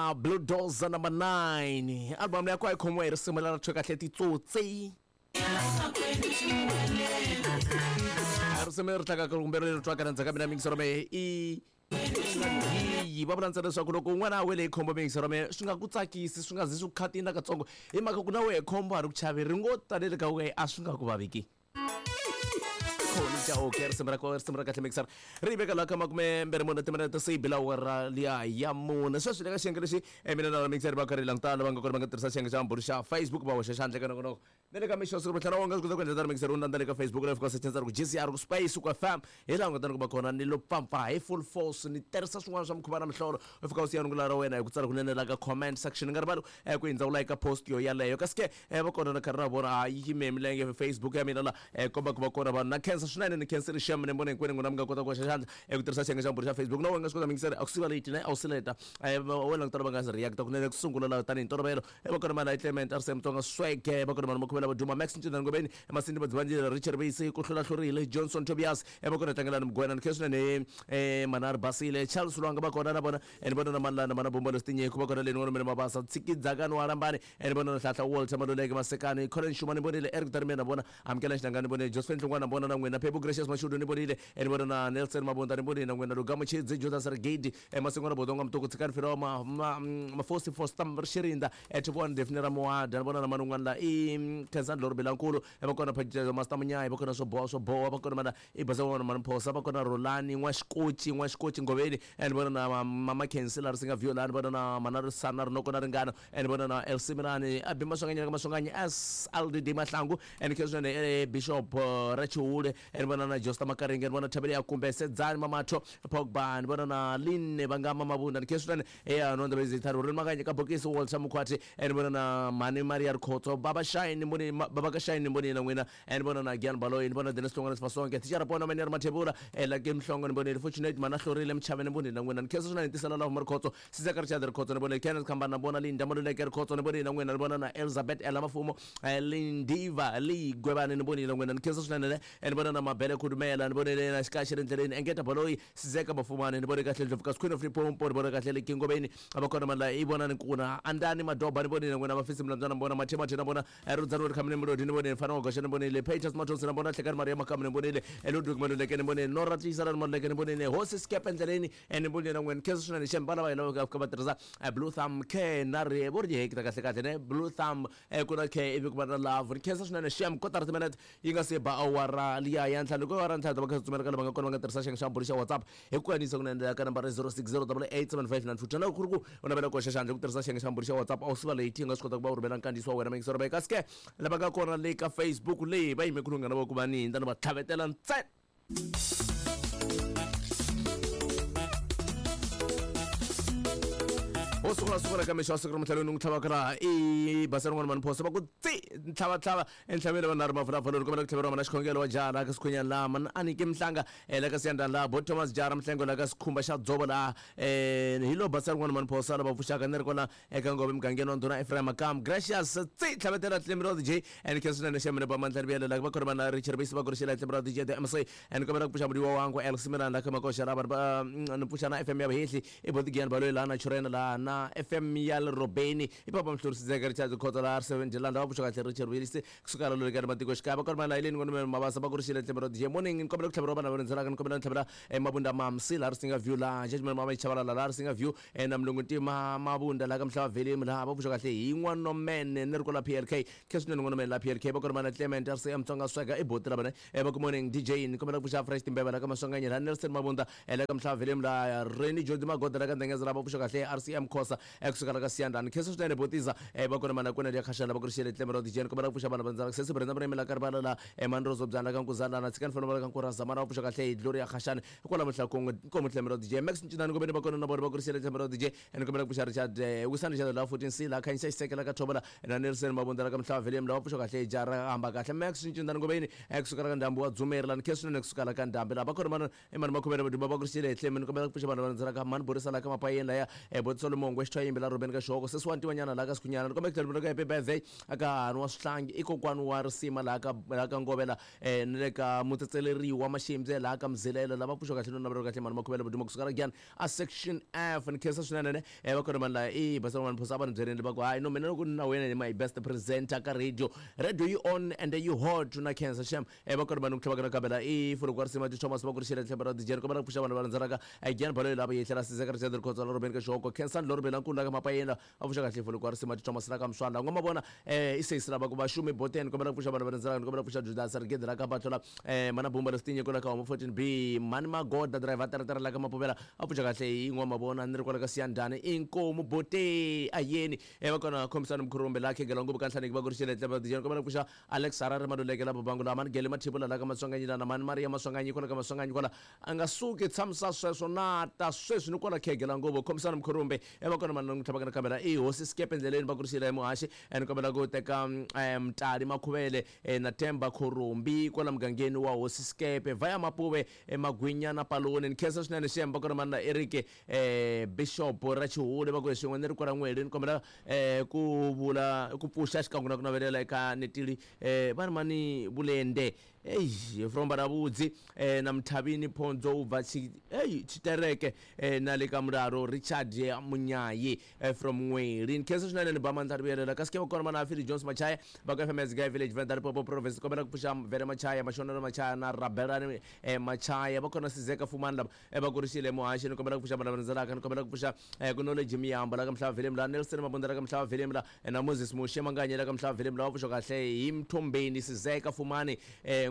Na Blue Doza number 9 album leyi a yi khomiwa hi risimu leri thwe kahle Titsotsi. Risimu leri tlangaka kumbe leri twaka ndzhaku ka mina mingisero mehe i yi va vula ntsena leswaku loko un'wana a wele hi khombo mingisero mehe swi nga ku tsakisi, swi nga zi swi ku khatini nakatsongo, hi mhaka ku na wehe khombo a ri ku chavi ri ngo talele ka wehe, a swi nga ku vaviki. Khoni Chauke, risimu ra risimu ra kahle mixer ri veka laha ka 24 timinete se yi bila awara liya ya 4. Sweswi le ka xiyenge lexi mina na mixer va karhi languta lava nga kona va nga tirhisa xiyenge xa mbhuri xa Facebook va hoxa xandla ka nongonoko na le ka mixo siku tlhela wa nga swi kota ku endla tano mixer u landza le ka Facebook live ka search ku GCR ku space ku FM hi laha u nga ta ni kuma kona ni lo pfapfa hi full force ni tirhisa swin'wana swa mikhuva na mihlolo. U fika u siya rungula ra wena hi ku tsala kunene la ka comment section. Nga rivali ku hindza u like post yo yaleyo. Kasi ke va kona na karhi na vona a yi yime milenge Facebook ya mina la komba ku va kona vanhu na khensa swinene ni khensile xem ni vona hinkwenu n'wina mi nga kota ku hoxa xandla eku tirhisa xiyenge xa mbhuri xa Facebook. Na wena nga swi kota mingiseri a ku siva late ne a wu sileta wena langutana va nga se react kunene ku sungula la tanihi ntolovelo. Va kona mali Clement RC Mutsonga Swege, va kona vanhu makhuvela va Duma Max Ncindani Ngobeni Masindi Madzivanjile Richard Visi ku hlula hlurile Johnson Tobias va kona Tlangelani Mugwena ni khensa swinene Manari Basile Charles Lwanga va kona na vona ni vona na Malana mana Bombo Lestinyeko va kona le ni vona Mabasa Tshikidzakani wa Rambani ni vona na Hlahla Walter Maluleke Masekani Colin Shuma ni vonile Eric Darimena vona Amukela Xinanga ni vonile Josephine Hlongwana vona na n'wina Phephu Gracious Mashudu ni vonile ni vona na Nelson Mabunda ni vonile na n'wina Lugamo Chidzi Judas Rigidi Masingwana Bodonga Mtuku Tshikani Filo Mafosi Foster Xirinda Thibone Daphne Ramuada ni vona na man'wana la i Khensani Lori Bilankulu va kona Phajelo Master Munyayi va kona swo boha swo boha va kona mana i Baza n'wana Manphosa va kona Rolani N'waxikoci N'waxikoci Ngoveni ni vona na Mama Khensi la Risinga Viola ni vona na Mana Risana Rinoko na Ringano ni vona na LC Mirani a Bima Swanganyela ka Maswanganyi SLDD Mahlangu ni khensa swinene Bishop Rachiule ni vona na Josta Makaringe ni vona Thabele ya Kumbe Sedzani Mamatho Pogba ni vona na Linne Vangama Mabunda ni khensa swinene ya no ndaba zitharo ri makanye ka bokisi Walter Mukhwati ni vona na Mani Maria Rikhotso Baba Shine ni voni Baba ka Shine ni voni na n'wina ni vona na Gian Baloyi ni vona Dennis Hlongwane Sifasonke Thichara Pona Mani Mathebula Lucky Mhlongo ni vonile Fortunate Mana Hlorile Mchave ni vonile na n'wina ni khensa swinene tisela lava Rikhotso Sizeka Richard Rikhotso ni vonile Kenneth Khambana na vona Linda Maluleke Rikhotso ni vonile na n'wina ni vona na Elizabeth Ella Mafumo Lindiva Ligwevani ni vonile na n'wina ni khensa swinene ni vona na Mabele Khudumela ni vonile na Xikaxi ri ndleleni Engeta Baloyi Sizeka Mafumani ni vone kahle Ndlovu Queen of Limpopo ni vone kahle le Kingoveni va kona mani la i vona ni kuna Andani Madoba ni vonile na n'wina Mafisi Mlambyana ni vona Mathe Mathe na vona Rudzani Ri Khamini Mulodi ni vonile Mfana wa Goxa ni vonile Peters Mathonsi na vona Hlekani Maria Makamu ni vonile Ludwig Maluleke ni vonile Nora Tiyiselani Maluleke ni vonile Hosi Skepe Ndleleni ni vonile na n'wina khensa swinene xem vana va hina va fika va tirhisa Blue Thumb K na ri vo ri hekta kahle kahle ne Blue Thumb ku na K ivi ku va na love ni khensa swinene xem kotara timinete yi nga se ba awara liya ya ntlhanu ku awara ntlhanu ta va kha tsutsumela ka lava nga kona va nga tirhisa xiyenge xa mbhuri xa WhatsApp hi ku kanisa kunene ka nambara 06088759 twana ku ri ku u navela ku hoxa xandla ku tirhisa xiyenge xa mbhuri xa WhatsApp a wu siva late yi nga swi kota ku va u rhumela nkandziyiso wa wena mayingisero va kasi ke lava nga kona le ka Facebook leyi va yime ku lunghana va ku va ni hindza ni va tlhavetela ntsena. Wo sungula sungula ka mixo wa siku ra mtlhelo ni n'wi tlhavaka laha i basa rin'wana mani phosa va ku tsi ntlhavatlhava entlhaveni vanhu ri mavulavulo ni kombela ku tlhaveriwa mana xikhongelo wa jaha laha ka Sikhunyani laha mana Aniki Mhlanga la ka Siyandhani laha bo Thomas jaha ra Mhlengo la ka Sikhumba xa Dzovo laha hi lo basa rin'wana mani phosa lava pfuxaka ni ri kona eka Ngove mugangeni wa ndhuna Ephraim Makamu Gracious tsi tlhavetela tlimbiro DJ and khensa swinene xa mina ba mandla riviyele la va kona vana Richard Bisi va kurixela tlimbiro DJ the MC and kombela ku pfuxa mudiwa wangu El Simirani la ka makoxa la vanhu va ni pfuxa na FM ya Vahehli i Botigian Baloyi laha na Churena laha na FM ya le Robeni i Papa Mhluri Sidzeka Richard Khotso laha R7 Landa va pfuxa kahle Richard Willis kusuka la lolekani matikoxikaya va kona vana Eileen Ngwane Mabasa va kurixile tlimbiro DJ morning ni kombela ku tlhaveriwa vana va rindzelaka ni kombela ni tlhavela Mabunda Mamsi laha Risinga View laha Judgment Mama Chabalala laha Risinga View na Mlungu Ntima Mabunda laha ka Mhlava Velimu laha va pfuxa kahle hi N'wanomene ni ri kwala PLK khe swinene N'wanomene laha PLK va kona vana Clement RCM Tsonga Swega i boti la vona va ku morning DJ ni kombela ku pfuxa Fresh Timbeva laha ka Maswanganyi laha Nelson Mabunda laha ka Mhlava Velimu laha Reni Jodi Magoda laha ka Ndengeza laha va pfuxa kahle RCM Khosa kusuka la ka Siyandhani khensa swinene botiza va kona mana kwena ya khashana va kurixele Clement DJ ni kombela ku pfuxa vana va ndzala Sesi Brenda Murimi la ka Rivala la Mandrozo Byana ka Nkuzana na Tshikani Fana va ka Nkuraza mana va pfuxa kahle hi Gloria Khashani kwala Muhlakongwe nkomo Clement DJ Max Ncinani Ngobeni va kona na vona va kurixele Clement DJ ni kombela ku pfuxa Richard Wisani Richard la 14 C la Khanyisa Xiseke la ka Thobola na Nelson Mabunda la ka Mhlava Velium la va pfuxa kahle hi jara hamba kahle Max Ncinani Ngobeni kusuka la ka Ndhambi wa Dzumeri la ni khensa swinene kusuka la ka Ndhambi la va kona mana i mani makhomele vaduma va kurixile hi tlhemi ni kombela ku pfuxa vanhu va landzelaka mani Borisa la ka Mapayeni laya Bot Solomon Mongwe xithwayimbi la Ruben ka Xihoko sesi wa ntiwanyana laha ka Sikhunyana ni kombela ku tlhela happy birthday aka hahani wa Swihlangi i kokwani wa risima laha ka laha ka Ngovela na le ka mutsetseleriwa Maximbye laha ka Mzilelo lava pfuxa kahle no navela kahle mhani Makhuvele Vuduma kusuka la Giyani a section F ni khensa swinene ne va kona vanhu lava i basa van'wana phosa a va ni byeleni va ku hayi no mina loko ni na wena ni my best presenter ka radio radio yi on and yi hot na khensa shem va kona vanhu ku tlhela va kambela i fuloko wa risima ti Thomas va ku ri xile tlhelo ra DJ kombela ku pfuxa vanhu va landzelaka Giyani Baloyi lava yehlela Sizeka Richard Rikhotso la Robeni ka Xihoko Khensani Lorobeni la nkulu la ka Mapayeni a pfuxa kahle fuloko wa risima ti Thomas la ka Mswanda n'wa mavona i sesi lava ku va xumi boteni kombela ku pfuxa vanhu va landzelaka ni kombela ku pfuxa Judas Rigede la ka Batlola mana Bumba Lesitinye kwala ka Homo 14B mani Magoda driver teretere la ka Mapuvela a pfuxa kahle hi n'wa mavona ni ri kwala ka Siyandhani inkomu bote ayeni va kona Khomisani Mkhurumbe la khegela nguvu ka Nhlaneki va ku ri xile tlhelo DJ kombela ku pfuxa Alex Harare Maluleke la Babangu la mani Gele Mathibula la ka Maswanganyi la na mani Maria Maswanganyi kwala ka Maswanganyi kwala a nga suki tshamisa sweswo na ta sweswi ni kwala khegela nguvu Khomisani Mkhurumbe va kona mani tlhava ka kamera i hosi sikepe endleleni va ku ri xile muhaxi ni kombela ku teka Mtali Makhuvele na Themba Khorombi kwala mugangeni wa hosi sikepe vaya Mapuve Magwinya na Paloni ni khensa swinene xem va kona mani na Eric Bishop ra Chihule va ku hi swin'we ni ri kwala N'weli ni kombela ku vula ku pfuxa xikan'we na ku navelela eka Netili va ri mani Vulende Eish from Baravhudzi na Mthavini Phondzo u bva tshi ei tshitereke na le ka Mulalo Richard Munyayi from N'weli ni khensa swinene ni ba mandla ri vuyelela kasi ke va kona mana Philly Jones Machaya va ka FMS Guy Village Venda Limpopo Province kombela ku pfuxa Vele Machaya Mashonelo Machaya na Rabelani Machaya va kona Sizeka Fumani lava va kurisile muhaxi ni kombela ku pfuxa vana va landzelaka ni kombela ku pfuxa ku Knowledge Miyambo la ka Mhlava Villem la Nelson Mabunda la ka Mhlava Villem la na Moses Muxe Manganye la ka Mhlava Villem la va pfuxa kahle hi Mthombeni Sizeka Fumani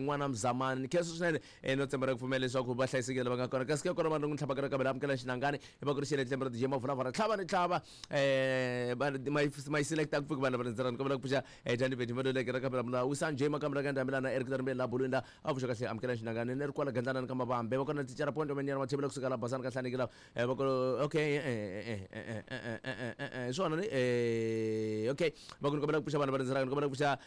n'wana Mzamani ni khensa swinene no tshemba ra ku pfumela leswaku va hlayisekile lava nga kona kasi ke kona vanhu n'wi tlhava ka kambe amukela xinangani va kurisile tlembe ra DJ Mavulavula tlhava ni tlhava ma yi selecta ku pfuki vanhu va landzelaka ni kombela ku pfuxa Danny Bedi Maluleke ra kambe la Wisani J Makamba la ka Ndhambi la na Eric Darimbeni la Bulwini la a pfuxa kahle amukela xinangani ni ri kwala Gandlana ka Mavambe va kona thicara Point Menyana Mathebula kusuka la Basani ka Hlaneki la va ko okay hi swona ni okay va ku ni kombela ku pfuxa vanhu va landzelaka ni kombela ku pfuxa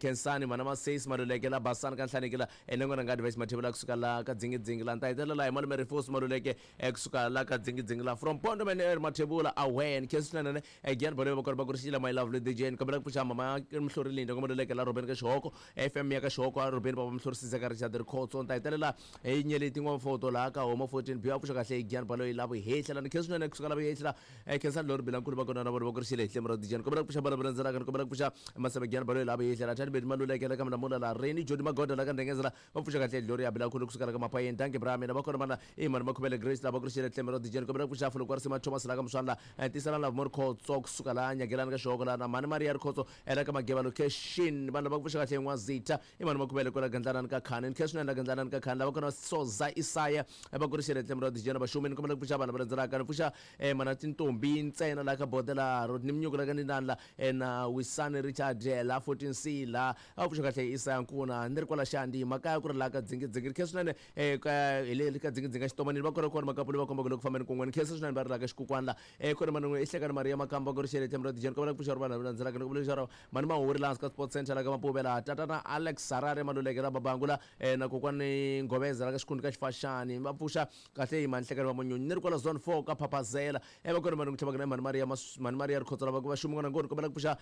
Khensani Mhana Masesi Maluleke la Basani ka Hlaneki la na n'wana nga Advice Mathebula kusuka la ka Dzingidzingi la ni ta hetelela hi malume Rifos Maluleke kusuka la ka Dzingidzingi la from Pondo Man Mathebula away ni khensa swinene Again bolo va kona va kurisile my lovely DJ ni kombela ku pfuxa mama Mhlori Linda kombela leke la Robeni ka Xihoko FM ya ka Xihoko a Robeni baba Mhlori Sizeka Richard Rikhotso ni ta hetelela hi nyeleti n'wamfoto laha ka Homa 14 B a pfuxa kahle Gian Baloyi la vuhehla la ni khensa swinene kusuka la vuhehla khensa Lori Bilankulu va kona na vona va kurisile hi hlemu ra DJ ni kombela ku pfuxa bana va landzelaka ni kombela ku pfuxa Masebe Gian Baloyi la vuhehla la Thani Bedi Maluleke la ka Mlamula la Reni Jody Magoda la ka Ndengezela va pfuxa kahle Gloria Bilankulu kusuka la ka Mapayeni Dankie bra mina va kona vana i mani Makhuvele Grace la va kurisile hlemu ra DJ ni kombela ku pfuxa Fulukwa Risima Thomas la ka Muswana Tisela Lovemore Khotso kusuka laha Nyagelani ka Xihoko laha na Mhani Maria Rikhotso ela ka Mageva location vanhu lava ku pfuxa kahle N'wazitha i mani Makhuvele kwala Gandlanani ka Khani ni khe swinene la Gandlanani ka Khani lava kona Soza Isaya va kurisile tlhelo ra dijena vaxumi ni kombela ku pfuxa vanhu va landzelaka ni pfuxa mana tintombi ntsena laha ka Bodela Rodney Mnyuku la ka Ndindani la na Wisani Richard la 14C la a pfuxa kahle Isaya Nkuna ni ri kwala Xandi makaya ku ri laha ka Dzingidzingi ni khe swinene ka hi le ka Dzingidzingi Xitomanini va kona kona makapuli va komba ku le ku fambeni kun'we ni khensa swinene va ri laha ka Xikukwani la kona mani i Hlekani Maria Makamba ku ri xele tlhelo ra dijeni kombela ku pfuxa ri vanhu lava landzelaka ni kombela leswaku mani Mahuri laha hansi ka Sports Center la ka Mapuve laha tatana Alex Harare Maluleke la Babangula na kokwani Ngoveza la ka Xikhundla ka Xifaxani va pfuxa kahle hi mani Hlekani va Munyunyu ni ri kwala Zone 4 ka Phaphazela va kona mani ku tlhava na mani Maria mani Maria Rikhotso lava ku va xumi n'wana ngoni kombela ku pfuxa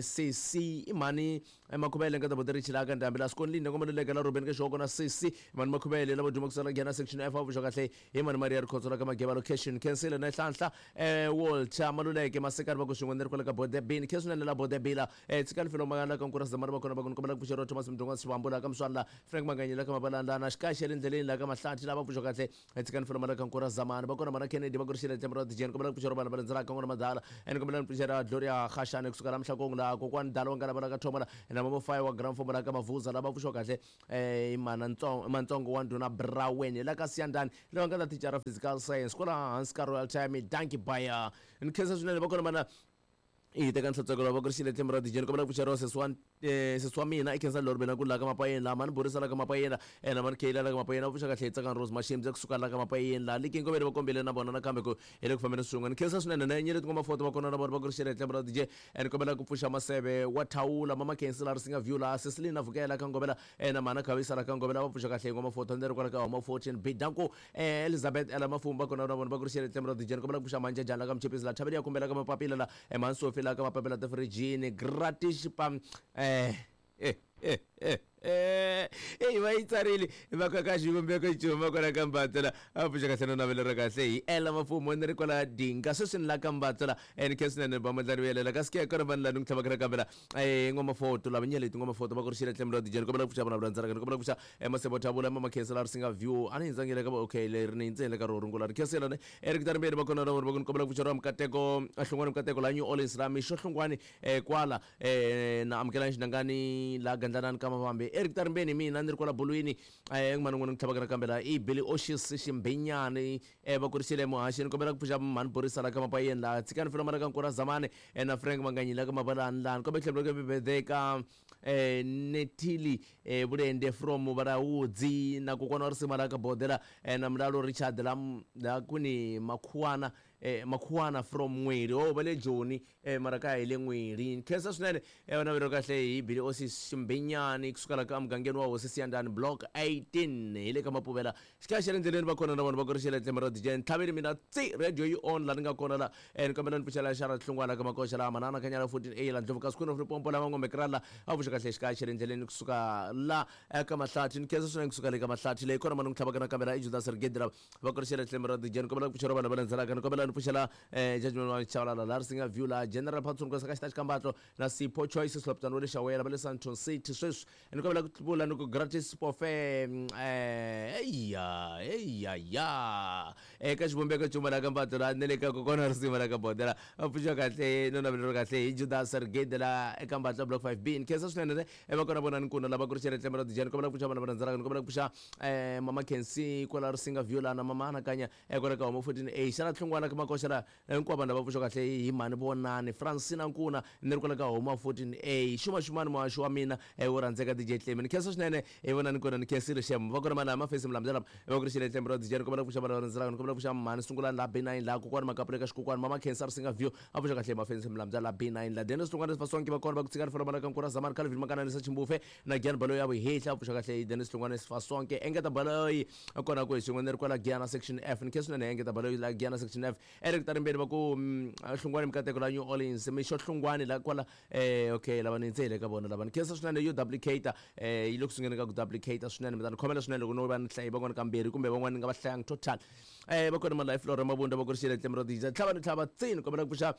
CC i mani Makhuvele nga ta ri chilaka ndhambi la Skonlini nga Maluleke la Ruben ka Xihoko na CC mani Makhuvele lava duma kusala nghena section F va pfuxa kahle hi mani Maria Rikhotso la ka Mageva location Khensile na Nhlanhla Walter Maluleke Masekani va ku swin'we ni ri kwale ka Bodebini Khensile la Bodebila tshikani filo la ka Nkura Zamani va kona va ku ni kombela ku pfuxeriwa Thomas Mdungwa Xivambu la ka Mswana la Frank Manganyi la ka Mabalani na Xikaxi le ndleleni la ka Mahlathi lava pfuxa kahle tshikani filo la ka Nkura Zamani va kona mana Kennedy va ku ri xile tlhelo ra Dijeni kombela ku pfuxeriwa vanhu va landzelaka n'wana madala ni kombela ni pfuxela Gloria Khashane kusuka la Mhlakong la kokwani Dala wa ngala va la ka Thoma la na Mama Fayi wa Grand Form la ka Mavuza lava pfuxiwa kahle mana Ntsongo Mantsongo wa ndhuna Brawen la ka Siyandani lava nga ta thicara physical science kwala hansi ka Royal Time dankie baya ni khensa swinene va kona mana I teka nhlotsweko lava ku ri xile tlhelo ra dijeni kombela ku pfuxeriwa sesi wa sesi wa mina i khensa lori mina ku la ka mapayeni laha mani borisa la ka mapayeni la ena mani kheyila la ka mapayeni a pfuxa kahle hi tsakani rose mashimbi kusuka la ka mapayeni laha liki nkoveni va kombile na vona nakambe ku hi le ku fambeni swin'we ni khensa swinene na nyeleti ngoma foto va kona na vona va ku ri xile tlhelo ra DJ and kombela ku pfuxa maseve wa thawula mama khensi la ri singa view laha Ceciline vukela ka ngovela na mana khavisa la ka ngovela va pfuxa kahle hi ngoma foto ni ri kwala ka homa 14 bidanku Elizabeth ela mafumu va kona na vona va ku ri xile tlhelo ra DJ ni kombela ku pfuxa manjejana la ka mchipisi la thaveli ya kumbela ka mapapila la emansofi la ka mapapila tifirijini gratis pam eyi va yi tsarile va ka ka xivumbeko cuma kwala ka mbatso la a pfuxa kahle no navelo ra kahle hi ela mafumo ni ri kwala dinga sweswi ni la ka mbatso la ni khe swinene ba mandlani vuyelela kasi ke kona vanhu la ni ku tlhavaka na kambe la ngoma foto lava nyeleti ngoma foto va ku ri xile tlhelo ra dijeni kombela ku pfuxa vana vula ndzaraka ni kombela ku pfuxa masebo thavula mama khensela ri singa view a ni hindzangile ka okay leri ni hindzele ka ro rungula ri khensela ne Eric Tarimbeni va kona na vona va ku ni kombela ku pfuxeriwa Mikateko Hlungwani Mikateko la New Orleans la Mixo Hlungwani kwala na amukelani Xinangani la Gandlanani ka Mavambe Eric Tarimbeni mina ni ri kwala bolweni n'wana n'wana ni tlhavaka nakambe la i Billy Oshis Ximbenyani va kurisile muhaxi ni kombela ku pfuxa mhani Borisa la ka Mapayeni la tshikani Filomana ka Nkura Zamani na Frank Manganyi la ka Mabalani la ni kombela ku tlhela ku ka Nethili Vulende from Vhalaudzi na kokwana wa risima la ka Bodela na Mulalo Richard la la kwini Makhuwana Makhuwana from N'weli oh va le Joni mara kaya hi le N'weli. Ni khensa swinene vana vero kahle hi Billy Osis Ximbenyani kusuka la ka mugangeni wa Hosi Siyandhani Block 18 hi le ka Mapuvela xikaya xa le ndleleni va kona na vona va ku ri xele tlhelo ra DJ Ntlhaveni mina tsi radio yi on la ni nga kona la ni kombela ni pfuxela xara hlungwana ka makoxa la manana kanyala 14 A la ndlovu ka sikwini ripompo la vangombe krala a pfuxa kahle xikaya xa le ndleleni kusuka la eka mahlathi ni khensa swinene kusuka le ka mahlathi leyi kona mani ku tlhavaka nakambe la i Judas Rigedi la va ku ri xele tlhelo ra DJ ni kombela ku pfuxela vanhu va landzelaka ni kombela ni pfuxela judgment wa Chabalala la ri singa view la General Patson ku ka xita xikambatlo na Sipho Choice Sloptani wa le Xawela va le Sandton City sweswi ni kombela ku vula ni ku gratis pofe eya eya ya eka xivumbeko cuma la ka mbatlo la ni le ka kokwana risimu la ka bodela va pfuxa kahle no navelo kahle hi Judas Rigede la eka mbatlo block 5B ni khensa swinene ne va kona vona ni kuna lava ku ri xele tlhelo ra dijani kombela ku pfuxa vana va rhandzelaka ni kombela ku pfuxa mama Kensi kwala Risinga View la na mama Anakanya kwala ka Home 14A xana tlhungwana ka makoxa la Hinkwavo vanhu lava pfuxa kahle hi mhani Vonani, Francina Nkuna, ni ri kwala ka Homa 14A. Xuma xumani muhaxi wa mina wo rhandzeka DJ Tlemi. Ni khensa swinene hi Vonani Nkuna, ni khensile xem. Va kona mani mafesi Mlambyana lava va ku ri xile Tlemi ra DJ ni kombela ku pfuxa vanhu lava rhandzelaka ni kombela ku pfuxa mhani Sungulani laha B9 laha kokwani Makapula eka xikokwani mama Khensa Risinga View a pfuxa kahle hi mafesi Mlambyana laha B9 laha Dennis Hlongwane Sifasonke va kona va ku tshika rifelo ka Nkura Zamani Calvin Makananisa Chimbufe na Giyani Baloyi ya vuhehla a pfuxa kahle hi Dennis Hlongwane Sifasonke engeta Baloyi kona ku hi swin'we ni ri kwala Giyana section F ni khensa swinene engeta Baloyi la Giyana section F Eric Tarimbeni va ku Hlungwani Mikateko la New Orleans Mixo Hlungwani la kwala okay lava ni ndze hi le ka vona lava ni khensa swinene yo duplicate yi le ku sungeni ka ku duplicate swinene mi ta ni khomela swinene loko no va ni hlayi van'wana kambirhi kumbe van'wana ni nga va hlayangi total va kona ma life Flora Mabunda va ku ri xile tlhelo ra DJ tlhava ni tlhava tsini kombela ku pfuxa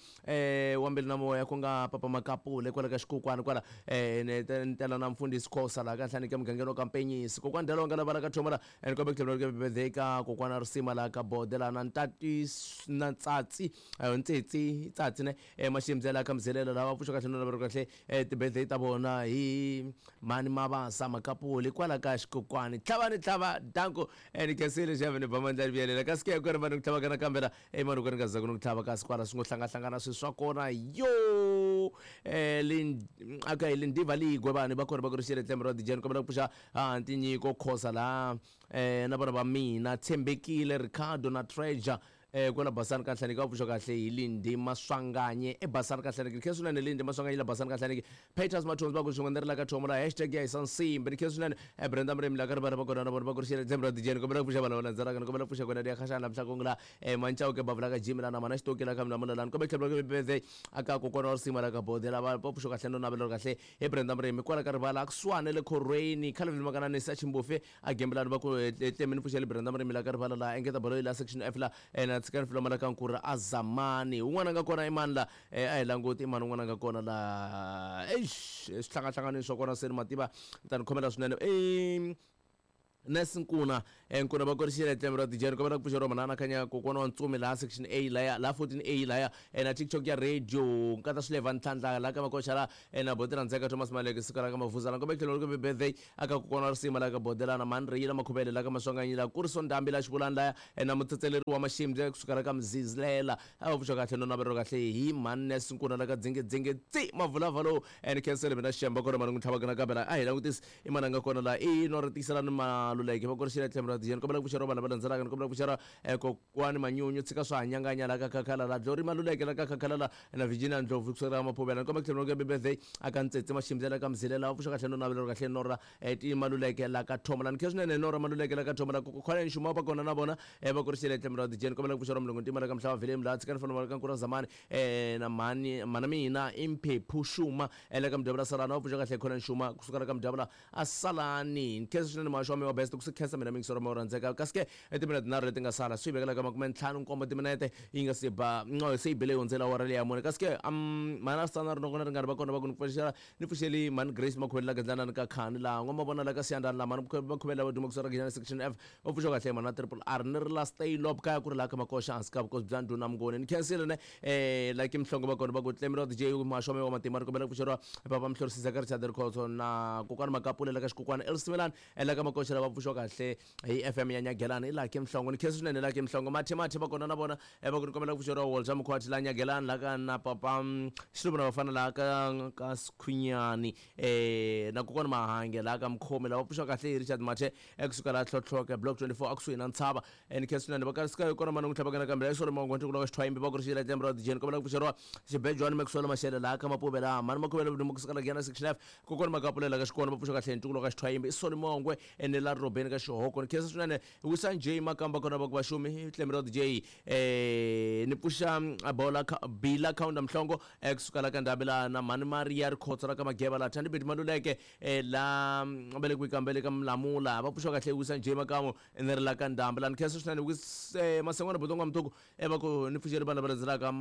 wa mbilu na moya ku nga Papa Makapule kwala ka xikokwani kwala ni tela na mfundhisi Khosa laha ka Nhlaniki emugangeni wa ka Mpenyisi kokwani Dalonga lava la ka Thomala ni kombela ku tlhela ku birthday ka kokwana Risima laha ka Bode laha na Ntati na Tsatsi Ntsitsi Tsatsi ne Maximbyela laha ka Mzelela laha va pfuxa kahle no lavela kahle ti-birthday ta vona hi mhani Mabasa Makapuli kwala ka xikokwani tlhava ni tlhava danko ni khensile xave ni ba mandla ni vuyelela kasi ke ku ri vanhu ku tlhava ka nakambe la mani ku ri nga zaku ni ku tlhava kasi kwala swi ngo hlangahlangana swilo swa kona yo lin okay lindiva ligwe vanhu va kona va ku ri xile tlembe ra dijeni kombela ku pfuxa tinyiko khosa laha na vana va mina Tshembekile Ricardo na Treasure kwala Basani ka Nhlaniki va pfuxa kahle hi Lindi Maswanganye eBasani ka Nhlaniki ni khensa swinene Lindi Maswanganye la Basani ka Nhlaniki Peters Mathonsi va ku swin'we ni ri la ka Thomo la hashtag ya hisa nsimbi ni khensa swinene Brenda Murimi la ka rivala va kona na vona va ku ri xele tlembe ra dijeni kombela ku pfuxa vanhu lava landzelaka ni kombela ku pfuxa kona ya khaxana la mhlakong la Manchauke bavula ka Jimmy la na mana xitoki la ka mina mula la ni kombela ku tlhela ku birthday aka kokwana wa risima la ka Bode lava va pfuxa kahle no navela kahle hi Brenda Murimi kwala ka rivala a kusuhani le khorweni Calvin Makananisi a Chimbufe a gembelani va ku tlemeni pfuxele Brenda Murimi la ka rivala la engeta baloyi la section F la na tshikani filoma la ka Nkura a Zamani un'wana a nga kona i mani la a hi languti i mani un'wana a nga kona la eish swi hlangahlanganini swa kona se ni mativa ni ta ni khomela swinene i. Nesinkuna nkuna va korixile tlembe ra dijeni kombela ku pfuxeriwa manana khanya kokwana wa ntsumi laha section A laya laha 14A laya na TikTok ya radio nkata swileva ntlhantlha laha ka makoxa la na boti randzeka Thomas Maleke siku ra ka mavuza la kombela tlhelo ri birthday aka kokwana wa risima laha ka bodelana mani reyila makhuvele laha ka maswanganyi la kuriso ndhambi la xivulani laya na mutsetseleri wa maximbe kusuka la ka mzizilela a va pfuxa kahle no navelo kahle hi mani Nesinkuna la ka dzingedzinge tsi mavulavha lowu and cancel mina xemba kona mani n'wi tlhavaka nakambe la a hi langutisi i mani a nga kona laha i no ri tiyiselani Maluleke va korixile tlhelo ra dijeni kombela ku pfuxeriwa vanhu lava landzelaka ni kombela ku pfuxeriwa kokwani Manyunyu tshika swa hanyanganya laha ka khakhala la Glory Maluleke la ka khakhala la na Virginia Ndlovu kusukela ka Maphuvela ni kombela ku tlhela ku birthday aka Ntsetse Maximbyela ka Mzilela va pfuxa kahle no navela kahle Nora ti Maluleke la ka Thoma la ni khe swinene Nora Maluleke la ka Thoma la kokwani Nxuma va kona na vona va korixile tlhelo ra dijeni kombela ku pfuxeriwa Mulungu Ntima la ka Mhlava Vilemu laha tshikani fana ka Nkura Zamani na mhani mhana mina i Mphephu Xuma la ka Mudyavula Salani va pfuxa kahle khona Nxuma kusuka la ka Mudyavula a Salani ni khensa swinene muhaxi wa mina wa best ku se khensa mina mingisoro wa rhandzeka kasi ke i timinete tinharhu leti nga sala swi yi vekela ka makume ntlhanu nkombo timinete yi nga se ba no se yi bile yi hundzela awara leya mune kasi ke mhani a swi tana ri nokona ri nga ri va kona va ku ni pfuxela ni pfuxeli mhani Grace Makhuvele la Gandlana ni ka Khani laha n'wamavona la ka Siyandhani laha mhani Makhuvele lava duma kusuka ra Giyani section F va pfuxa kahle mhana triple R ni ri la Staylop kaya ku ri laha ka Makoxa hansi ka vukosi bya ndhuna Mnguni ni khensile ne like Mhlongo va kona va ku Tlemiro DJ muhaxi wa mehe wa matima ri kombela ku pfuxeriwa papa Mhlorisi Zaka Richard Rikhotso na kokwana Makapule la ka Xikukwana Elsimelani la ka Makoxa lava pfuxiwa kahle hi FM ya Nyagelani i Lucky Mhlongo ni khensa swinene Lucky Mhlongo Mathe Mathe va kona na vona va ku ni kombela ku pfuxeriwa Walter Mkhwati la Nyagelani la ka na papa Xiluva na vafana la ka Sikhunyani na kokwana Mahange la ka Mkhomi lava pfuxiwa kahle hi Richard Mathe ekusuka laha Tlhotlhoke block 24 akusuhi na ntshava and khe swinene va ka kona mani n'wi tlhavaka nakambe la xisolo mango ntiko ka xithwayimbi va ku ri xi la tlembe ra dijeni kombela ku pfuxeriwa xibejwani Maxwell Mashele laha ka Mapube laha mani makhuvele vudumo kusuka la Giyani section F kokwana Makapulela ka xikona va pfuxa kahle ntukulo ka xithwayimbi i Soli Mongwe ene la Robeni ka xihoko ni khensa swinene wisa J Makamba kona va ku vaxumi tlembe ra DJ ni pfuxa bola Bila Kaunda Mhlongo ekusuka la ka Ndhambi laha na mhani Maria Rikhotso la ka Mageva laha Thandi Beti Maluleke la velekiwi kambe ka Mlamula va pfuxiwa kahle wisa J Makamu ni ri la ka Ndhambi laha ni khensa swinene wise Masengwana Botonga Mtuku va ku ni pfuxeli vanhu lava landzelaka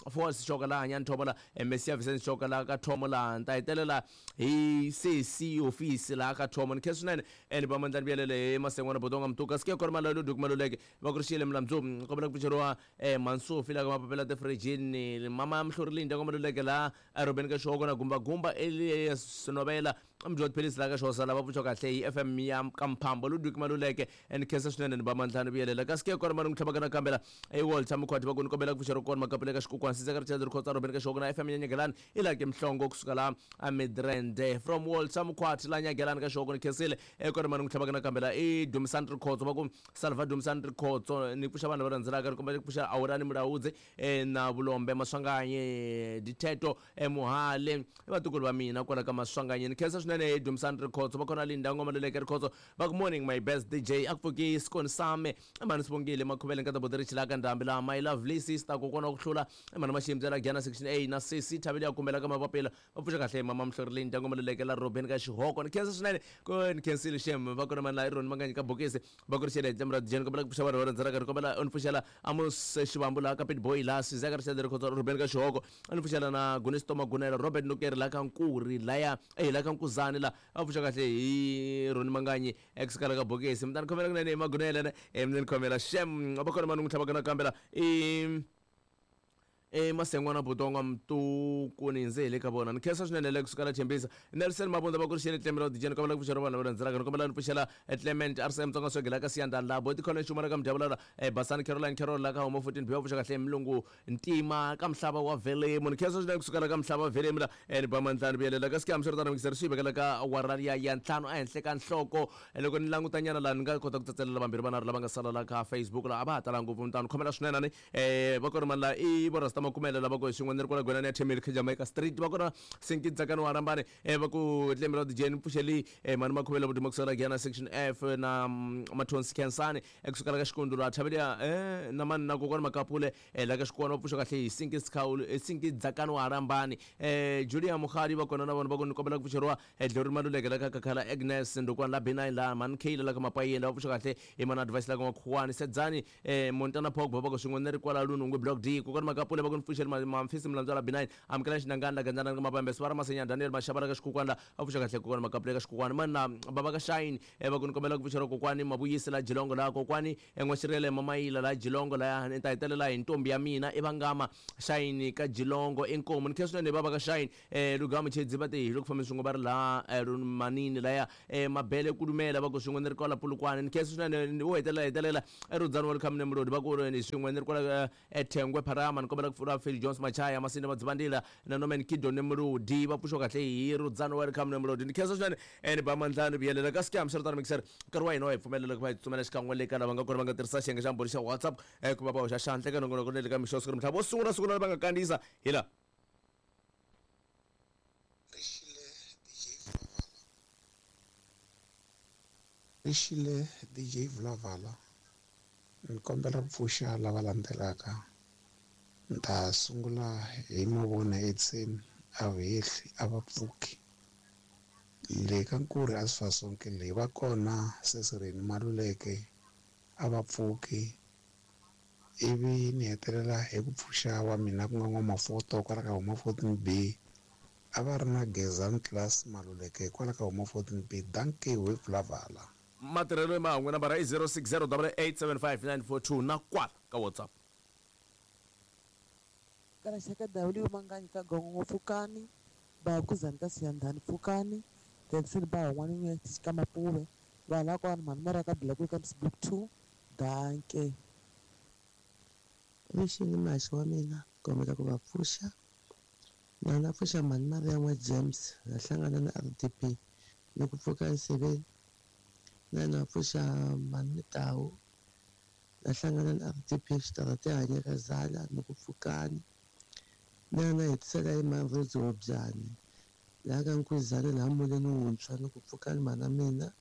Force Xoka laha Hanyani Thomo la Messia Vincent Xoka laha ka Thomo laha ni ta hetelela hi sesi hofisi laha ka Thomo ni khensa swinene ni va mandlani vuyelele hi Masengwana Botonga Mtuku kasi ke kona Malolo Duku Maluleke va ku ri xiyele Mlamdzu kombela ku pfuxeriwa Mansufi laha ka Mapapela Tifirijini mama ya Mhluri Linda ka Maluleke laha Robeni ka Xihoko na Gumba Gumba Elias Novela mdyi wa tiphilisi laha ka Xhosa lava pfuxiwa kahle hi FM ya ka Mphambo Ludwig Maluleke ni khensa swinene ni ba mandlani vuyelela kasi ke kona mani n'wi tlhavaka nakambe la i Walter Mkhwati va ku ni kombela ku pfuxa ri kona makapele ka xikukwana Sizeka Richard Rikhotsa Robeni ka Xihoko na FM ya Nyagelani i Lucky Mhlongo kusuka la a Midrand from Walter Mkhwati la Nyagelani ka Xihoko ni khensile kona mani n'wi tlhavaka nakambe la i Dumisani Rikhotso va ku Salva Dumisani Rikhotso ni pfuxa vanhu lava landzelaka ni kombela ku pfuxa Awurani Mulaudzi na Vulombe Maswanganyi Ditheto Muhale i vatukulu va mina kwala ka Maswanganyi ni khensa swinene Dumisani Rikhotso va kona Linda Ngoma Luleke Rikhotso va ku morning my best DJ a ku pfuki Sikoni Same mhani Sibongile Makhuvele nkata Boti Richila ka Ndhambi laha my lovely sister kokwana wa ku hlula mhani Maximbyela la Giyana section A na sesi Thabile ya kumbela ka Mapapila va pfuxa kahle mama Mhlori Linda Ngoma Luleke la Robeni ka Xihoko ni khensa swinene ku ni khensile shem va kona mani la i Roni Manganyi ka bokisi va ku ri xele tlemu ra DJ ni kombela ku pfuxa vanhu va rhandzanaka ni kombela u ni pfuxela Amos Xivambu laha ka Pitboy laha Sizeka Richard Rikhotso Ruben ka Xihoko a ni pfuxela na Gunisto Magunela Robert Nukeri laha ka Nkuri laya eh laha ka Nkuzani la a pfuxa kahle hi Roni Manganyi ex kala ka bokisi mi ta ni khomela kunene hi Magunela ne mi ni khomela shem va kona mani n'wi tlhavaka nakambe la i E Masengwana Butonga Mtuku ni ndze hi le ka vona ni khensa swinene le kusuka la Tshembisa Nelson Mabunda va ku ri xele Clement Rodijeni ni kombela ku pfuxela vanhu lava landzelaka ni kombela ni pfuxela Clement RCM Tsonga Swegela ka Siyandhani laha Boti Collins Xuma ka Mdyavulala Basani Caroline Carol la ka Homo 14 B va pfuxa kahle Mlungu Ntima ka Mhlava wa Velemu ni khensa swinene kusuka la ka Mhlava wa Velemu la ni ba mandlani vuyelela ka Sikihamu swiritano mikiseri swi vekela ka awara liya ya ntlhanu ehenhla ka nhloko loko ni languta nyana laha ni nga kota ku tsatselela vambirhi vanharhu lava nga sala la ka Facebook laha a va ha talanga ngopfu ni ta ni khomela swinene ni va kona mani la i vo Rasta Makumele lava ku hi swin'we ni ri kwala Gwenani ya Themeli kha Jamaica Street va kona Sinki Tsakani wa Rambani va ku Tlemi ra DJ ni pfuxeli mani Makhuvele Vuduma kusukela Giyana section F na Mathonsi Khensani kusukela ka Xikundu la Thabelia na mani na kokwana Makapule la ka Xikwana va pfuxa kahle hi Sinki Sikhawulu Sinki Dzakani wa Rambani Julia Mukhali va kona na vona va ku ni kombela ku pfuxeriwa Glory Maluleke la ka Kakhala Agnes Ndukwana la B9 la mani Kayla la ka Mapayeni va pfuxa kahle hi mani Advice la ka Makhuwani Sedzani Montana Pogba va ku swin'we ni ri kwala Lunungwe Block D kokwana Makapule va ku va ku ni pfuxeli Mamfisi Mlandzwala B9 amukela xinangana la gandzana ka mabambe Sivara Masenya Daniel Maxava la ka xikukwana a pfuxa kahle kokwani Makapule ka xikukwana mani na baba ka Shine va ku ni kombela ku pfuxela kokwani Mavuyisi la Jilongo la kokwani N'waxirele Mamayila la Jilongo laya ni ta hetelela hi ntombi ya mina i Vangama Shine ka Jilongo inkomu ni khensa swinene baba ka Shine Lugamu Chedzi va te hi loko fambeni swin'we va ri laha Manini laya Mabele Kulumela va ku swin'we ni ri kwala Polokwane ni khensa swinene wo hetelela hetelela Rudzani Welcome Nemrodi va ku ni swin'we ni ri kwala Thengwe Pharama ni kombela ku pfula Phil Jones Machaya Masinde Madzivandila na Norman Kido Nemrodi va pfuxiwa kahle hi Rudzani Welcome Nemrodi ni khensa swinene ni ba mandla ni vuyelela ka scam swi ri tano mixer nkarhi wa hina wa hi pfumelela ku va hi tsutsumela xikan'we le ka lava nga kona va nga tirhisa xiyenge xa mbhoni xa WhatsApp ku va va hoxa xandla eka nongonoko le ka mixo siku namuntlha vo sungula siku va nga kandziyisa hi la Rixile DJ Vulavala ni kombela ku pfuxa lava landzelaka ni ta sungula hi mavona Edson a va hehli a va pfuki le ka Nkurhi a swi fa sonke le va kona Sesireni Maluleke a va pfuki ivi ni hetelela hi ku pfuxa wa mina ku nga N'wamafoto kwala ka huma 14 B a va ri na Gezani Class Maluleke kwala ka huma 14 B dankie we Vulavala. Matirhelo ma n'we nambara i 060 8875942 na kwala ka WhatsApp. Ka W Manganyi ka Gongongo pfukani ba Kuzani ka Siyandhani pfukani Jackson ba Hon'wana ka Mapuve vanhu lava kwani mhani Mara ka Black ka Block 2 danke. Mixini maxi wa mina kombela ku va pfuxa na na pfuxa mhani Maria n'wa James na hlangana na RDP ni ku pfuka nsiveni na na pfuxa mhani Mitawu na hlangana na RDP xitarata hanya ka Zala ni ku pfukani na na hetisela hi mhani Rose Hobyani laha ka Nkuzana laha muleni wuntshwa ni ku pfukani mhana mina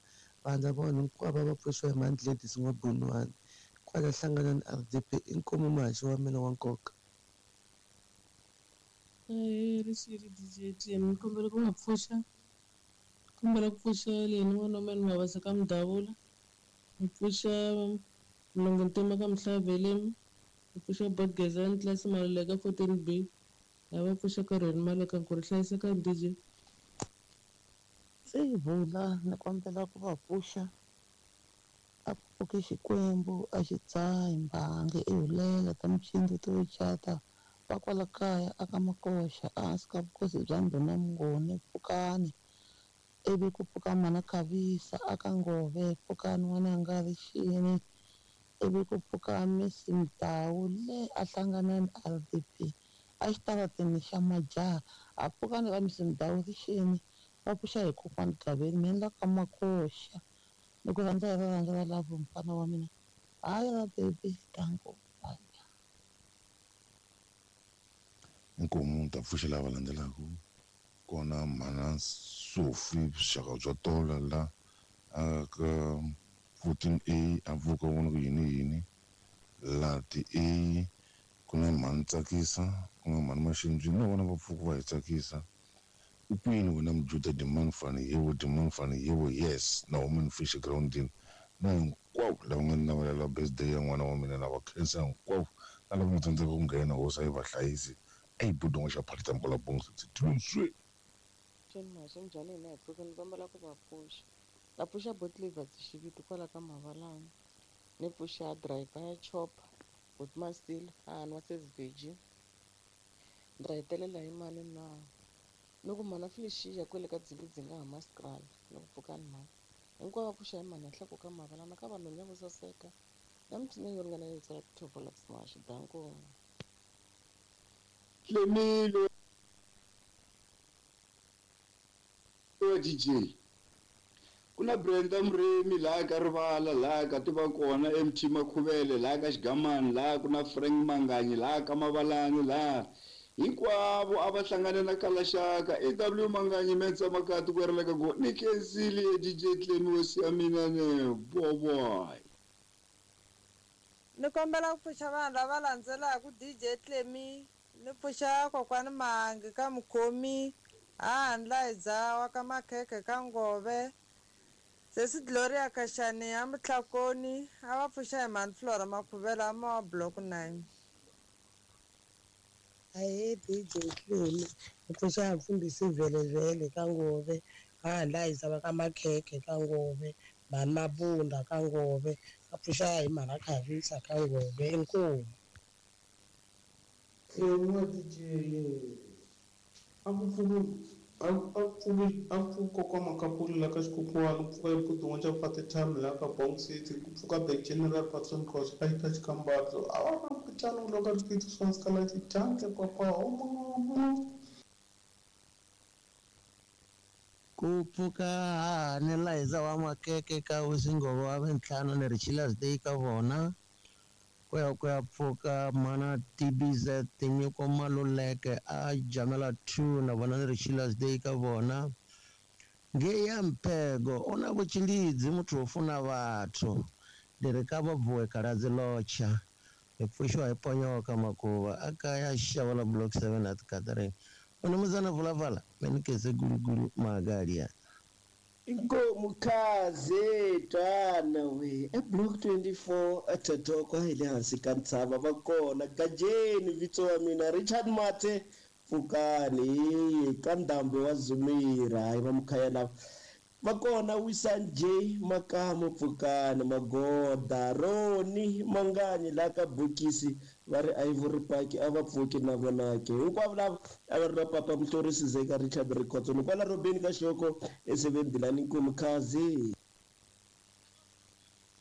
vanhu lava vanhu hinkwavo va pfuxiwa hi mhani Gladys N'wabunwani kwala hlangana na RDP inkomu muhaxi wa mina wa nkoka. Rixile DJ Clem ni kombela ku nga pfuxa kombela ku pfuxa leni n'wana wa mina Mabasa ka Mudavula ni pfuxa Mlungu Ntima ka Mhlavelemi ni pfuxa Bot Gezani Class Maluleka 14B lava pfuxa ka Rheni Maleka ku ri hlayiseka DJ. Se vula ni kombela ku va pfuxa a pfuki Xikwembu a xi dzahi mbangi i hulela ta micindzu to cata va kwala kaya aka Makoxa ehansi ka vukosi bya ndhuna Mnguni pfukani ivi ku pfuka mana Khavisa aka Ngove pfukani n'wananga Rixini ivi ku pfuka Miss Mdawu le a hlangana na RDP a xitarateni xa majaha a pfukani ka Miss Mdawu Rixini va pfuxa hi kokwani Gaveni mina la ka Makoxa ni ku rhandza hi rirhandzu ra lavo mfana wa mina hayi ra baby danko. Inkomu ta pfuxa lava landzelaka kona mhana Sophie vuxaka bya tola la ka 14A a pfuka vona ku yini yini lati A ku na mhani Tsakisa ku na mhani Maxindzwini na vona va pfuka va hi tsakisa u kwini wena Mujuda Dimani fani yebo Dimani fani yebo yes na woman fish groundini na hinkwavo lava nga ni navelela birthday ya n'wana wa mina na va khensa hinkwavo na lava nga tsandzeka ku nghena hosi a yi va hlayisi a yi budu n'wa xa phakita mkola bongo swi Maxi njhani hina hi pfuka ni kombela ku va pfuxa na pfuxa Botlivers xiviti kwala ka Mavalani ni pfuxa driver ya chopper Bot Mastil a nwa Sesivheji ni ta hetelela hi mani na ni ku mhana Felicia kwele ka dzingidzinga ha Maskrala ni ku pfukani mhani hinkwavo va pfuxa hi mhani ya hlaku ka Mavalani ka vanhu vo saseka na micino yo ringana yo tsala ti-top smash danko. Clemilo wa DJ ku na Brenda Muremi laha ka Rivala laha ka tiva kona MT Makhuvele laha ka Xigamani laha ku na Frank Manganyi laha ka Mavalani laha hinkwavo a va hlangane na Kalaxaka AW Manganyi Metsa Makati ku ereleka go ni khensile DJ Clemi hosi ya mina ne boboy. Ni kombela ku pfuxa vanhu lava landzelaka DJ Clemi ni pfuxa kokwani Mangi ka Mukhomi handla hi dzawa ka Makhekhe ka Ngove Sesi Gloria Kashani ya Mutlakoni a va pfuxa hi mhani Flora Makhuvela ma wa Block 9. Ahee DJ Clemi, ni pfuxa mfundhisi Vhelevhele ka Ngove, Hahandlayisa va ka Makhekhe ka Ngove, Mhani Mabunda ka Ngove, va pfuxa hi Mhana Khavisa ka Ngove, inkomu. N'wa DJ a ku pfuki a a pfuki a ku pfuki kokwa Makapuli la ka xikokwani ku pfuka ebuti xa Fatithami la ka Bong City ku pfuka the general Patson Khosa a xita xikambatso a va na mphikizano loko ri swa scarlet danke papa Ku pfuka hahani Liza wa Makeke ka Wisinghovo wa Vintlhanu ni ri Chilas Day ka vona ku ya ku ya pfuka mana TBZ Tinyiko Maluleke a Jamela 2 na vona ni ri Chilas Day ka vona ngei ya Mphego u na vutshilidzi muthu wo funa vhathu ndi ri ka va bvuwe kaladzi lotsha hi pfuxiwa hi ponyoka makuva a kaya xava la block 7 at Catherine unimuzana vulavala menikeze gulugulu magalia Inkomu khaze twana we eblock 24 ethetoko hi le hansi ka ntshava va kona gajeni vito wa mina Richard Mathe pfukani ka ndhambi wa Zumira hayi va mukhaya lava va kona Wisan J Makamu pfukani Magoda Roni Manganyi la ka bokisi va ri Ivory Park a va pfuki na vona ke hinkwavo lava a va ri va papa Mhlorisi Zeka Richard Rikhotso ni kwala Robeni ka Xoko e7 Dilani Nkomu Khazi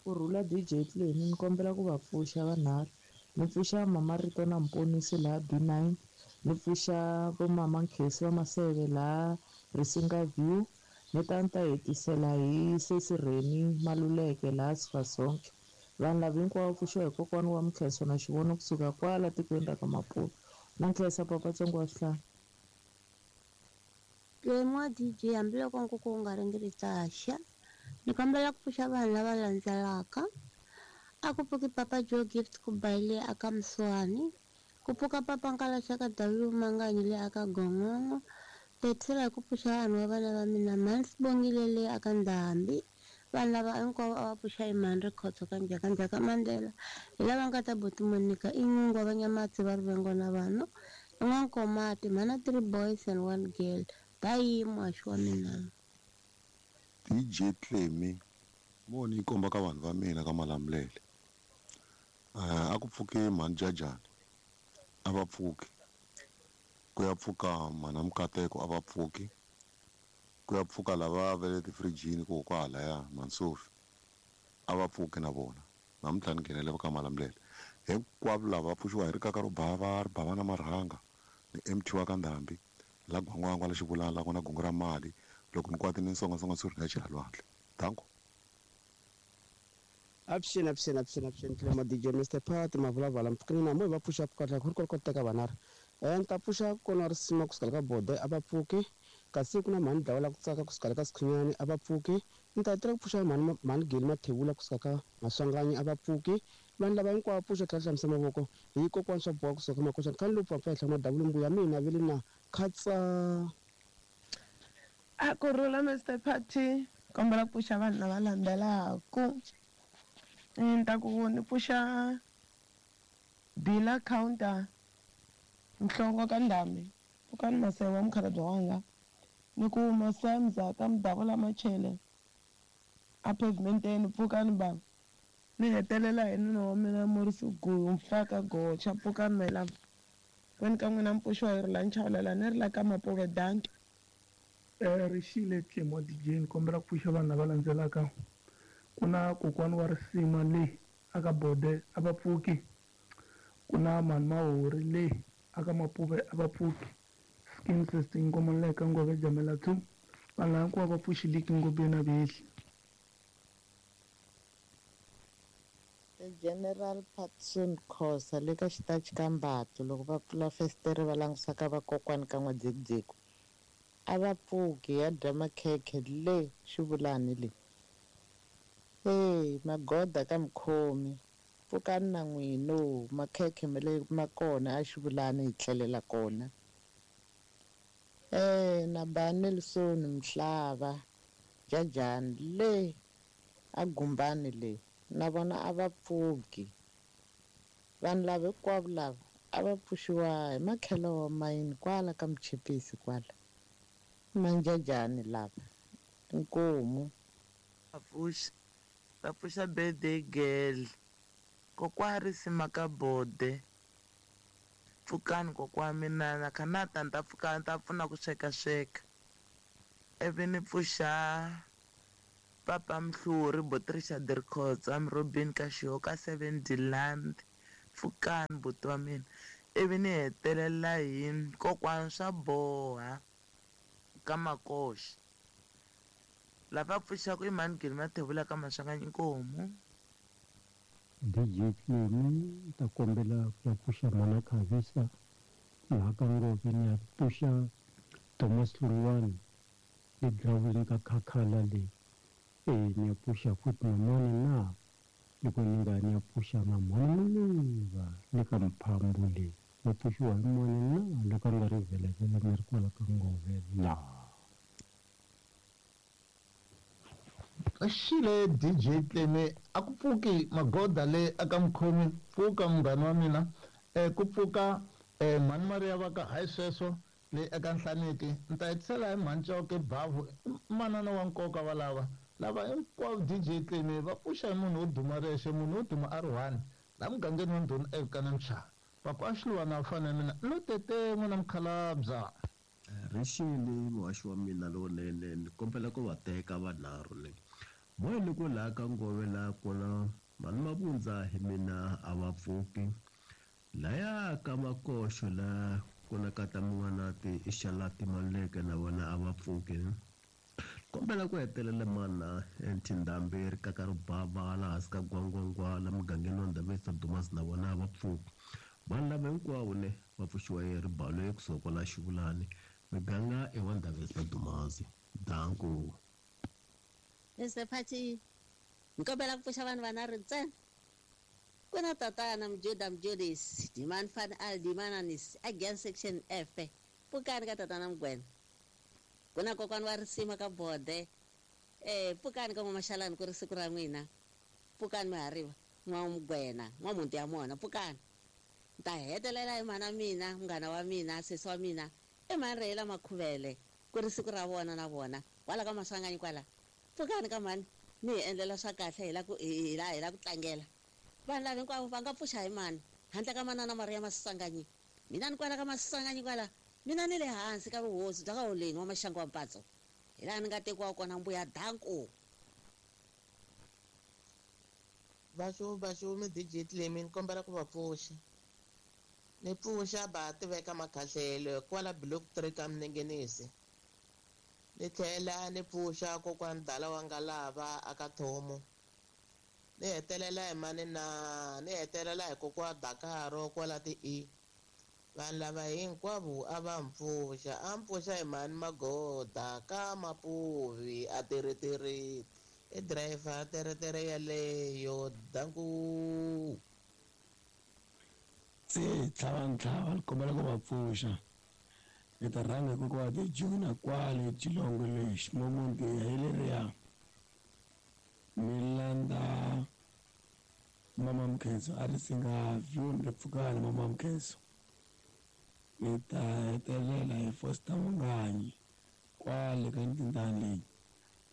Ku rhula DJ Clemi ni kombela ku va pfuxa vanharhu ni pfuxa mama Rito na Mponisi laha B9 ni pfuxa vo mama Nkhesi va Maseve laha Risinga View ni ta ni ta hetisela hi sesi Reni Maluleke laha Sifasonke vanhu lava hinkwavo pfuxiwa hi kokwana wa Mkhenso na xivono kusuka kwala tikweni ra ka Maputo na nkhensa papa Tsongo wa swihlahla. Clemi wa DJ hambiloko nkuku wu nga ringiri xa ni kombela ku pfuxa vanhu lava landzelaka a ku pfuki papa Joe Gift ku bayile aka Mswani ku pfuka papa Nkalaxaka W Manganyi le aka Gongongo hetisela hi ku pfuxa vanhu va vana va mina mhani Sibongile le aka Ndhambi vanhu lava hinkwavo a va pfuxa hi mhani Rikhotso ka Njhakanjhaka Mandela hi lava nga ta buti Monica i Nyungwa va Nyamatsi va Rivengo na vanhu i N'wankomati mhana 3 boys and 1 girl bayi muhaxi wa mina. DJ Clemi moni yi komba ka vanhu va mina ka Malamulele a ku pfuki mhani Jajani a va pfuki ku ya pfuka mhana Mukateko a va pfuki ku ya pfuka lava va le tifirijini ku kwahalaya Mansofi a va pfuki na vona namuntlha ni nghenele ka Malamulele hinkwavo lava va pfuxiwa hi rikaka ro bava ri bava na marhanga ni MT wa ka Ndhambi la gwangwangwa la xivulana la kona gungu ra mali loko ni kwati ni nsongasonga swi ri na chela lwandle danko. Avuxeni avuxeni avuxeni avuxeni Clemo DJ Mr Pat Mavulavala mpfukeni na moya va pfuxa pfuka ku ri ku teka vanharhu ni ta pfuxa kona risima kusuka ka bode a va pfuki kasi ku na mhani dlawa la ku tsaka kusuka ka Sikhunyani a va pfuki ni ta tirha ku pfuxa mhani mhani Geli Mathebula kusuka ka Maswanganyi a va pfuki vanhu lava hinkwavo pfuxa tlhela hlamusa mavoko hi kokwana swa boha kusuka ka Makoxana khani lowu pfapfa henhla madavula mbuya mina vele na khatsa. A ku rhula Mr Party kombela ku pfuxa vanhu lava landzelaka ni ta ku ni pfuxa Bila counter Nhlongo ka Ndhambi pfukani Maseve wa mukhalabye wanga ni ku Masamza ka Mudavula Machele a pavementeni pfukani bava ni hetelela hi nuna wa mina Morisi Guyu Mfaka Gocha pfukani melava kwani ka n'wina mpfuxiwa hi ri la nchawulela ni ri la ka Mapuve danke. Rixile Clemo DJ ni kombela ku pfuxa vanhu lava landzelaka ku na kokwana wa risima le aka bode a va pfuki ku na mhani Mahori le aka Mapuve a va pfuki skin system Nkomonleka Ngove Jamela 2 vanhu lava hinkwavo va pfuxiliki ngopfu na vehli. The General Patson Khosa le ka xitachi ka Mbatlo loko va pfula festere va langusa ka vakokwani ka N'wadzekudzeku a va pfuki ya dya makhekhe le xivulani le hey magoda ka mukhomi pfukani na n'wino makhekhe ma le ma kona a xivulani hi tlhelela kona na ba Nelson Mhlava Jajani le a Gumbani le na vona a va pfuki vanhu lava hinkwavo lava A va pfuxiwa hi makhelo wa mayini kwala ka Muchipisi kwala. Manjajani lava. Inkomu. Va pfuxa va pfuxa birthday girl kokwa risima ka bode pfukani kokwa wa mina na kha na ta ni ta pfuka ni ta pfuna ku sweka sweka ivi ni pfuxa papa Mhluri buti Richard Rikhotsa Robin ka Xihoka 7 Deland pfukani buti wa mina ivi ni hetelela hi kokwani swa boha ka Makoxa lava pfuxaka i mhani Gilma Thebula ka Maswanganyi inkomu. DJ Clemi ni ta kombela ku ya pfuxa mhana Khavisa laha ka Ngove ni ya pfuxa Thomas Hlongwane le girawundini ka Khakhala le e ni ya pfuxa futhi na mhani na loko ni nga ni ya pfuxa na mhani Maluva le ka Mphambo le va pfuxiwa hi mani na loko a nga ri vhelevhele ni ri kwala ka Ngove laha. Xile DJ Tleme a ku pfuki magoda le aka mukhomi pfuka munghana wa mina ku pfuka mhani Mariya va ka hayi sweswo le eka Nhlaneki ni ta hetisela hi mhani Chauke Bavhu i manana wa nkoka va lava lava hinkwavo DJ Tleme va pfuxa hi munhu wo duma rexe munhu wo duma a ri one la mugangeni wa ndhuna eVukana Mchava Papa Xiluva na fana ya mina lo tete n'wina mukhalabya. Rixile muhaxi wa mina lowunene ni kombela ku va teka vanharhu le moya loko laha ka ngove laha kona mhani Mavundza hi mina a va pfuki laya ka Makoxo la ku na kata Mun'wanati i Xalati Maluleke na vona a va pfuki kombela ku hetelela mana Nthindhambi rikaka ribava laha hansi ka Gwangwangwa la mugangeni wa Ndabezitha Dumas na vona a va pfuki vanhu lava hinkwavo ne va pfuxiwa hi ribalo ekusuhi kwala Xivulani miganga i wa Ndabezitha Dumas danko. Mr Phathi ni kombela ku pfuxa vanhu vanharhu ntsena ku na tatana Mjuda Mjudis Diman Van Al Dimananis against section F pfukani ka tatana Mugwena ku na kokwani wa risima ka Bode pfukani ka N'wamashalani ku ri siku ra n'wina pfukani mihariva N'wamugwena N'wamuti ya mona pfukani ni ta hetelela hi mhana mina munghana wa mina sesi wa mina i mhani Rheyila Makhuvele ku ri siku ra vona na vona kwala ka Maswanganyi kwala pfukani ka mhani mi hi endlela swa kahle hi la ku hi la hi la ku tlangela vanhu lava hinkwavo va nga pfuxa hi mani handle ka manana Mariya Maswanganyi mina ni kwala ka Maswanganyi kwala mina ni le hansi ka vuhosi bya ka Holeni wa Maxangu wa Mpatso hi laha ni nga tekiwa kona mbuya danko. Vaxu vaxu mi DJ Clemi ni kombela ku va pfuxa ni pfuxa ba tiveka makhahlelo kwala block 3 ka Minengenisi ni tlhela ni pfuxa kokwani dala wa ngalava aka Thomo ni hetelela hi mani na ni hetelela hi kokwa Dakaro kwala ti E vanhu lava hinkwavo a va mpfuxa a mpfuxa hi mhani Magoda ka Mapuvi a teretere i driver teretere yaleyo danku. Se tlhava ntlhava ni kombela ku va pfuxa ni ta rhanga hi kokwa Juna kwale Chilongo lexi momonti hi leriya ni landza mama Mkhenso a ri singa view ni pfukani mama Mkhenso ni ta hetelela hi Foster Manganyi kwale ka ntindani leyi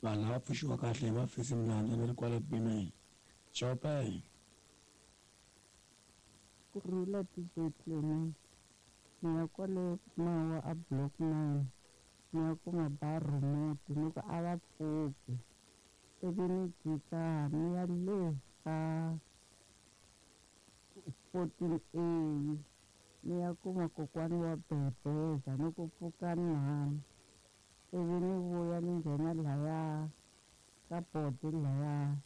vanhu lava pfuxiwa kahle hi mafesi mlandza ni ri kwale Pimeni Chopin. Kurhula DJ Clemi ni ya kwale Mawa a block 9 ni ya kuma ba remote ni ku a va pfuki ivi ni jika ni ya le ka 14A ni ya kuma kokwani wa bebeza ni ku pfuka nhani ivi ni vuya ni nghena laya ka bodi laya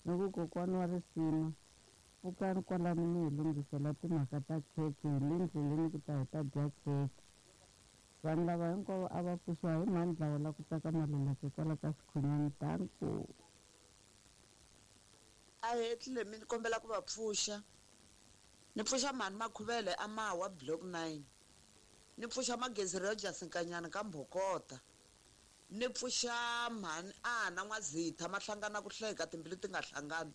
ni ku kokwani wa risima pfukani kwalano mi hi lunghisela timhaka ta khekhe hi le ndleleni ku ta hi ta dya khekhe vanhu lava hinkwavo a va pfuxiwa hi mhani dlawa la ku tsaka maluleke kwala ka Xikhonyani danko. A hetlile mi ni kombela ku va pfuxa ni pfuxa mhani Makhuvele a Mawa block 9 ni pfuxa Magezi Rogers Nkanyana ka Mbhokota ni pfuxa mhani Ana N'wazitha mahlangana ku hleka timbilu ti nga hlangani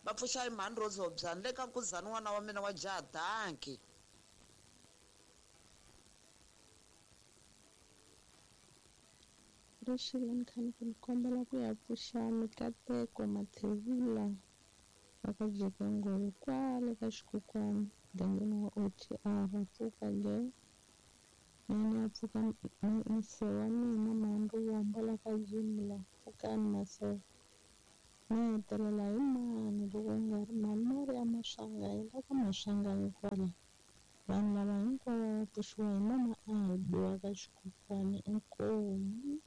va pfuxa hi mhani Rose Hobyani le ka Nkuzani n'wana wa mina wa jaha danki. Rixile ni kha ni ku ni kombela ku ya pfuxa Mikateko Mathebula va ka Jekengolo kwale ka Xikukwana mugangeni wa OTR pfuka ge mina ya pfuka mse wa mina Mhani la ka Jimla pfukani masewa ni hetelela hi mani loko ku nga ri mhani Maria Maswanganyi la ka Maswanganyi kwala vanhu lava hinkwavo va pfuxiwa hi mama Albi wa ka Xikukwana inkomu.